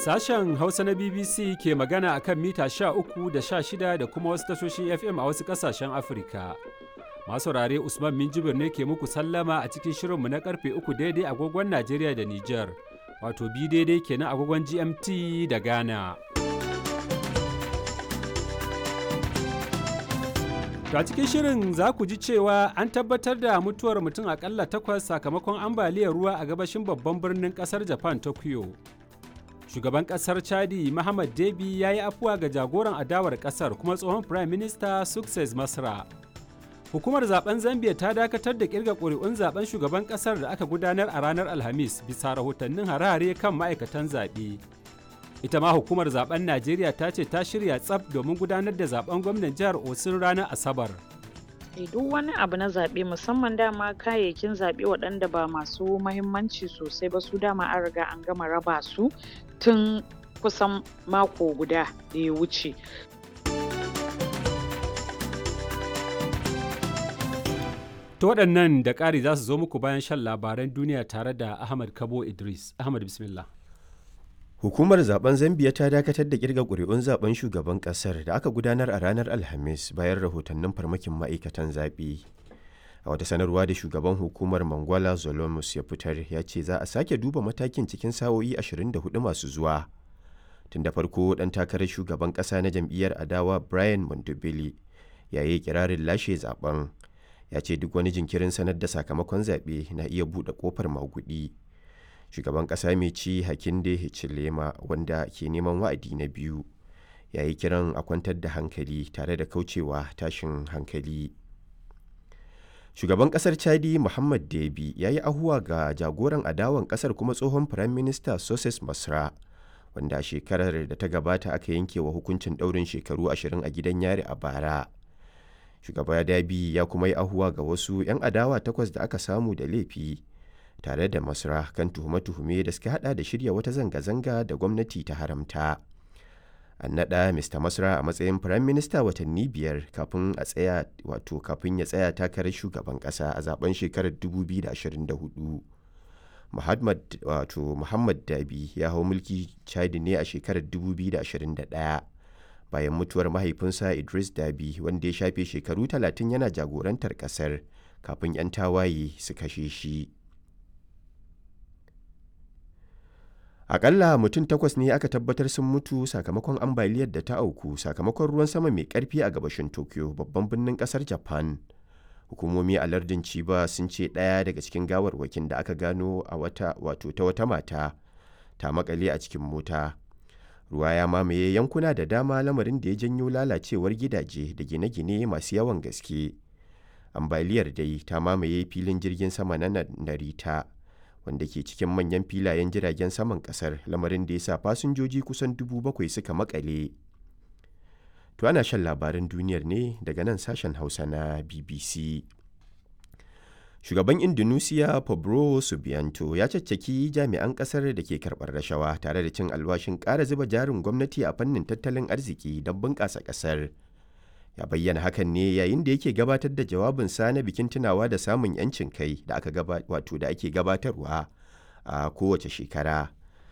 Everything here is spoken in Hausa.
Sashen Hausa na BBC ke magana a kan mita 13 da 16 da kuma wasu tashoshin FM a wasu ƙasashen Afirka. Masu saurare, Usman Minjibir ne ke muku sallama a cikin shirinmu na karfe 3 daidai agogon Najeriya da Nijar, wato bi daidai kenan agogon GMT da Ghana. To a cikin shirin za ku ji cewa an tabbatar da mutuwar mutum akalla takwas sakamakon ambaliyar ruwa a gabashin babban birnin kasar Japan, Tokyo. Shugaban kasar Chadi Muhammad Debi ya yi afuwa ga jagoran adawar kasar kuma tsohon Prime Minister Success Masra. Hukumar zaben Zambia ta dakatar da kirga ƙuri'un zaben shugaban kasar da aka gudanar a ranar Alhamis bisa rahotannin hare-hare kan ma'aikatan zaɓe. Ita ma hukumar zaben Najeriya ta ce ta shirya tsaf domin gudanar da zaben gwamnan jihar Osun ranar Asabar. Duk wani abu na zaɓe, musamman dama kayayyakin zaɓe waɗanda ba masu mahimmanci sosai ba, su dama an riga an gama raba su tun kusan mako guda da ya wuce. To waɗannan da ƙari za su zo muku bayan shan labaran duniya tare da Ahmad Kabo Idris. Ahmad, bismillah. Hukumar zaben Zambiya ta dakatar da kirga ƙuri'un zaben shugaban ƙasar da aka gudanar a ranar Alhamis bayan rahotannin farmakin ma'aikatan zaɓe. A wata sanarwa da shugaban hukumar Mangwala Zolomus ya fitar, ya ce za a sake duba matakin cikin sa'o'i 24 masu zuwa. Tun da farko ɗan takarar shugaban ƙasa na jam'iyyar adawa Brian Mondobili ya yi kirarin lashe zaben. Ya ce duk wani jinkirin sanar da sakamakon zaɓe na iya buɗe ƙofar maguɗi. Shugaban ƙasa mai ci Hakinde Hichilema, wanda ke neman wa'adi na biyu, ya yi kiran a kwantar da hankali tare da kaucewa tashin hankali. Shugaban ƙasar Chadi Muhammad Debi ya yi ahuwa ga jagoran adawan ƙasar kuma tsohon firayim minista Soses Masra, wanda a shekarar da ta gabata aka yanke wa hukuncin ɗaurin shekaru 20 a gidan yari a bara. Shugaba Dabi ya kuma yi ahuwa ga wasu 'yan adawa takwas da aka samu da laifi tare da Masra kan tuhume-tuhume da suka hada da shirya wata zanga-zanga da gwamnati ta haramta. An naɗa Mr. Masra a matsayin Firayim Minista watanni 5 kafin a tsaya wato kafin ya tsaya takarar shugaban ƙasa a zaben shekarar 2024. Muhammad wato Muhammad Dabi ya hau mulki Chadi ne a shekarar 2021 bayan mutuwar mahaifinsa Idris Dabi, wanda ya shafe shekaru 30 yana jagorantar ƙasar kafin 'yan tawaye su kashe shi. Akalla mutum takwas ne aka tabbatar sun mutu sakamakon ambaliyar da ta auku sakamakon ruwan sama mai karfi a gabashin Tokyo, babban birnin kasar Japan. Hukumomi a lardin Chiba sun ce ɗaya daga cikin gawarwakin da aka gano a wata wato ta wata mata ta makale a cikin mota. Ruwa ya mamaye yankuna da dama, lamarin da ya janyo lalacewar gidaje da gine-gine masu yawan gaske. Ambaliyar dai ta mamaye filin jirgin sama na Narita, wanda ke cikin manyan filayen jiragen saman kasar, lamarin da ya sa fasinjoji kusan 7,000 suka makale. To ana shan labaran duniyar ne daga nan sashen Hausa na BBC. Shugaban Indonesia Pablo Subianto ya caccaki jami'an kasar da ke karɓar rashawa tare da cin alwashin ƙara zuba jarin gwamnati a fannin tattalin arziki don bunƙasa ƙasar. Ya bayyana hakan ne yayin da yake gabatar da jawabinsa na bikin tunawa da samun 'yancin kai da aka wato da ake gabatarwa a kowace shekara.